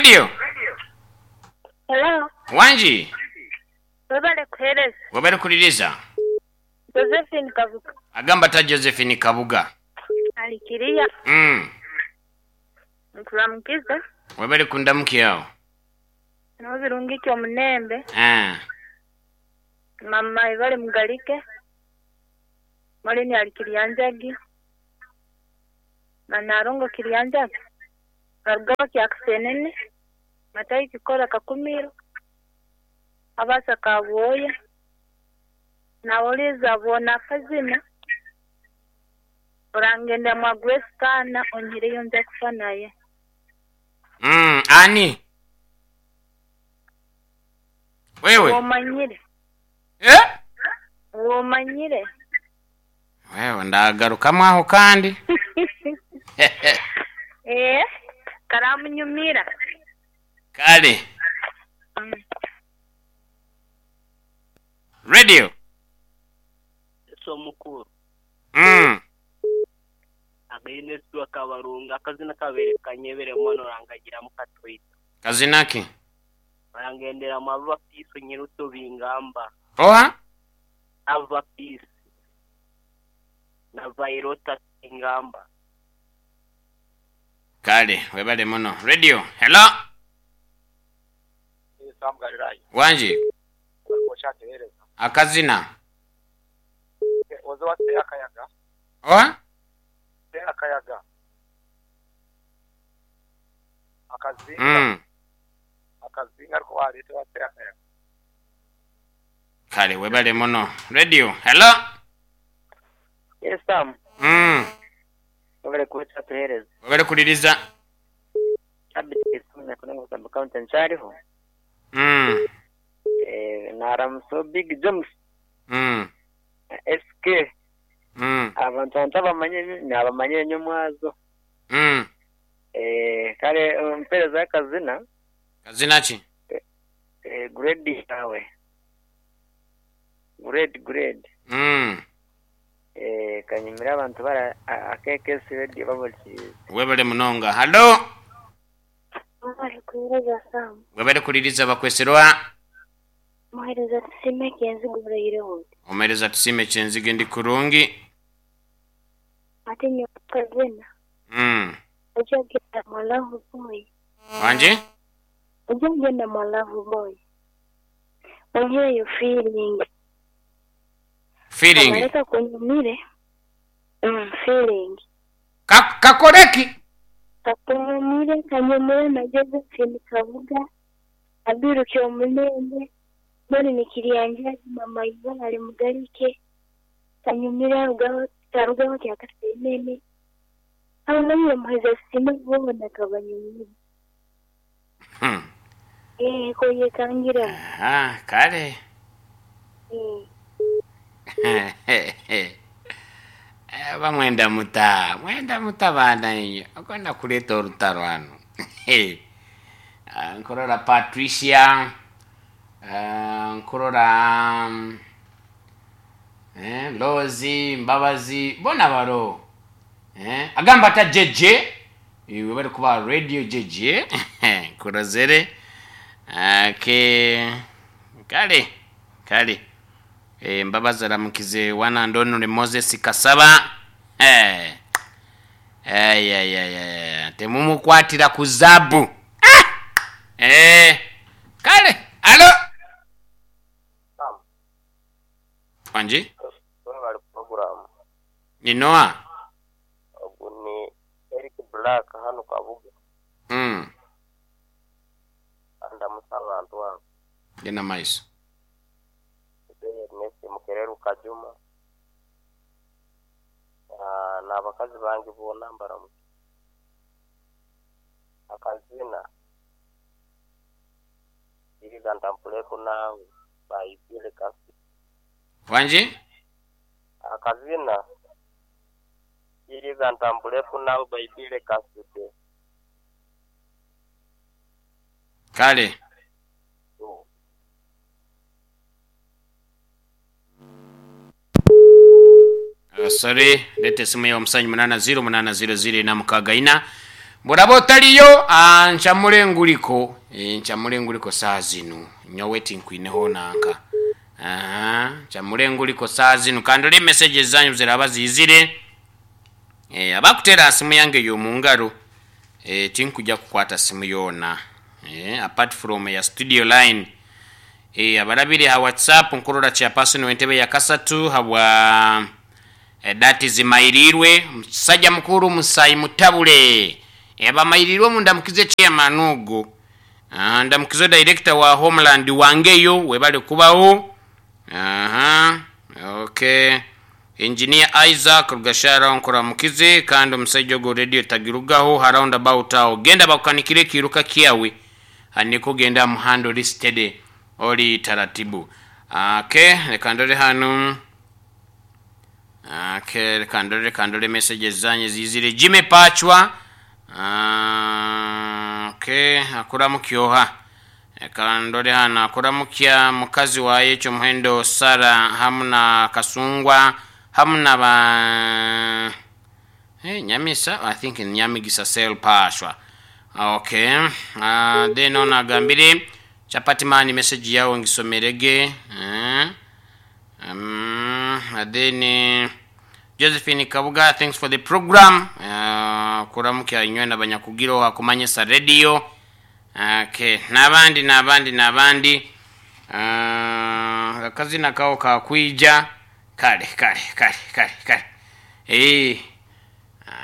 Radio. Hello. Wangi. Webale kuhereza. Webale kuliriza. Josephine Kabuga. Agamba ata Josephine Kabuga? Ali kiriya. Nkuramukize. Webale kundamukya agho. No birungi ki omunembe. Eeh. Mama ibale Mugalike. Molini ali Kiryanjagi. Na Nalongo Kiryanjagi. Barugaba Kyakisenene. Matayi Kikora Kakumiro. Abasa Kabwoya. Nawoliza bona akazina. Orangenda mwa Grace Kana onyireyo nze kufa naye. Ani? Wewe? Womanyire. Eh? Womanyire. Wewe ndagarukamu aho kandi. Eh, karamunyumira. Kale. Radio. Yesu omukuru. Againe Yesu akabarunga akazina kabaire kanyebere mono orangagiramu katoito. Kazina ki? Orangenderamu Ava Peace Nyiruto Bingamba. Oha? Ava Peace na Vairota Bingamba. Kale webale muno. Radio, hello. Sam Galilaya. Wangi. Akazina. Oze wa se akayaga. Oha? Se akayaga. Akazinga. Akazinga ariko waleeta wa se akayaga. Kale webale muno. Radio, hello. Yes Sam. Webale kuba tuhereza. Webale kuliriza. Sabiti Kisumu kunengo sub county nkyariho. Naramusa Big James. SK. Abantu abantu abamanye nabamanye nyomwazo. Kale mpereza akazina. Kazina ki? Grade yawe. Grade grade. Kanyumira abantu bara akekesi radio babulikiriza. Webale munonga. Hallo. Webale kuhereza Sam. Webale kuliriza bakweserwa. Muhereza Tusime Kyenzige oraire oti. Omuhereza Tusime Kyenzige ndi kurungi. Ate nyowe akazina. Ojja genda mwa love boy. Wangi? Ojja genda mwa love boy. Onyireyo feeling. Feeling? Kabareka kunyumire. Feeling. Kakoreki? Kakunyumire, kanyumire na Josephine Kabuga. Abiruki omulembe. Mbwenu Kiryanjagi mama Ibara ali Mugalike. Kanyumire arugaho arugaho Kyakasenene. Abamanyire muheza Tusime boona kabanyumire. Koyekangiremu. Aha, kale. Oba mwenda muta? Mwenda muta baana inywe? Okwenda kuleeta orutaro hanu. Nkurora Patricia, nkurora Lozi, Mbabazi, bona baro. Agamba ata JJ, iwe bari kuba radio JJ, nkurozere. Okay. Kale, kale. Mbabazi aramukize one and only Moses Kasaba. Temumukwatira ku zaabu. Kale, alo. Wangi? Webale program. Ni Noah. Ogu ni Eric Black hanu Kabuga. Andamusa abantu abo. Genda maiso. Ernest Mukereru Kajuma. N'abakazi bange boona mbaramu. Akazina. Iriga ntampuleku naawe bayibire kasi. Wangi? Akazina. Iriga ntampuleku naawe bayibire kasi. Kale. Sorry, leta esimu yo omusanju munana ziro munana ziro ziro ina mukaaga ina. Bw'oraba otariyo, ah, ncamure nguriko. Eh, ncamure nguriko saaha zinu. Nyowe tinkwineho nanka. Aha, ncamure nguriko saaha zinu. Ka ndore messages zanyu ziraba ziizire. Eh, abakuteera aha simu yange y'omu ngaro, eh, tinkuja kukwata simu yoona. Eh, apart from eya studio line. Eh, abarabire ha WhatsApp nkurora chairperson w'entebe ya kasatu habwa Edati zimairiirwe musaja mukuru musayi mutabule abamairiirwe omu ndamukize chairman ogu ndamukize director wa homeland wangeyo webale kubaho aha ok engineer Isaac Rugashara nkuramukize kandi omusaija ogu radio tagirugaho ha round about aho genda bakukanikire ekiiruka kyawe nikwo genda aha muhanda ori steady ori taratibu ok reka ndore hanu. Okay, reka ndore reka ndore messages zanyu ezizire. Jimmy Pachwa ah, okay, akuramukya oha? Reka ndore hano akuramukya mukazi waye Ekyomuhendo Sarah hamu na Kasungwa hamu na ba hey, Nyamisa I think ni Nyamigisa Sel Pachwa. Okay. Then ono agambire Chapati man message yawe ngisomerege. Eh? Um, then Josephine Kabuga, thanks for the program. Kuramukya inywe na banyakugiro hakumanyisa radio. Okay, n'abandi n'abandi n'abandi. Akazina kawo kakwija kale kale kale kale kale. Eh,